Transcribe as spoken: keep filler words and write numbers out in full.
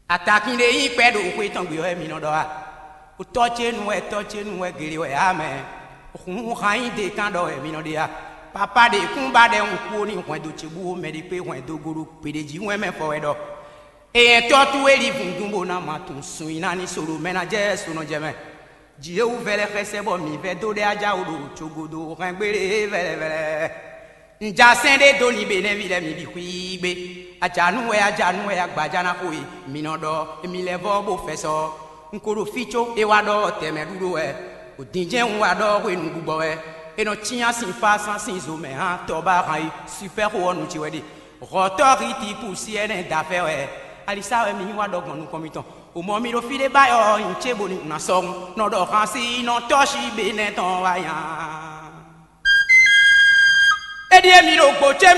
Atakin ɖé nyí kpɛ́ ɖo xwé tɔn gbe wɛ mi nɔ ɖɔ a? Tɔ́ ce nu wɛ, tɔ́ ce nu wɛ, gele wɛ ǎ mɛ. Hun han nyí de kan ɖɔ wɛ mi nɔ ɖe a? Papa ɖe kún ba ɖɛ hun kú ó ní hwɛndo ce bú ó mɛ ɖi kpé hwɛndo goɖo gbeɖé jí wɛn mɛ fɔ wɛ ɖɔ. Eyɛn tɔ́ towe li vundun bó ná ma tunwun sun nyi ná ní so ɖo mɛ ná jɛ so nɔ jɛ mɛ. Jǐ e wú vɛlɛ xɛsɛ bɔ mǐ vɛ́ dó ɖɛ ajáwo ɖo cogodo hɛn gbélé vɛlɛvɛlɛ. Un ja sɛ́n ɖé dó nyi Benɛ́ví lɛ́ɛ mi bǐ xwíí gbé. Ajanú wɛ, ajanú wɛ, agbaja ná xo e, mi nɔ ɖɔ, émí lɛ́ vɔ́ bó fɛ sɔ. Un ko ɖo fí có é wá ɖɔ tɛmɛ ɖúɖó wɛ. Odǐnjɛ́n un wá ɖɔ hwenu gbugbɔ wɛ. É nɔ cyán sin fá sán sin zo mɛ hán tɔba han yi sifɛ́ xo ɔ́ nu ce wɛ ɖe. Hɔ̌tɔ́ Hitipu sí ɛnɛ da fɛ wɛ. Alisa wɛ mi yí wá ɖɔ gbɔn nukɔn mitɔn. O mɔ mi ɖo fí ɖé báyɔ nyi ce bóni un ná sɔ́ un nɔ ɖɔ han sí nɔ tɔ́ sí Benɛ́ tɔn wá nya. É ɖíe mi ɖo gbo ce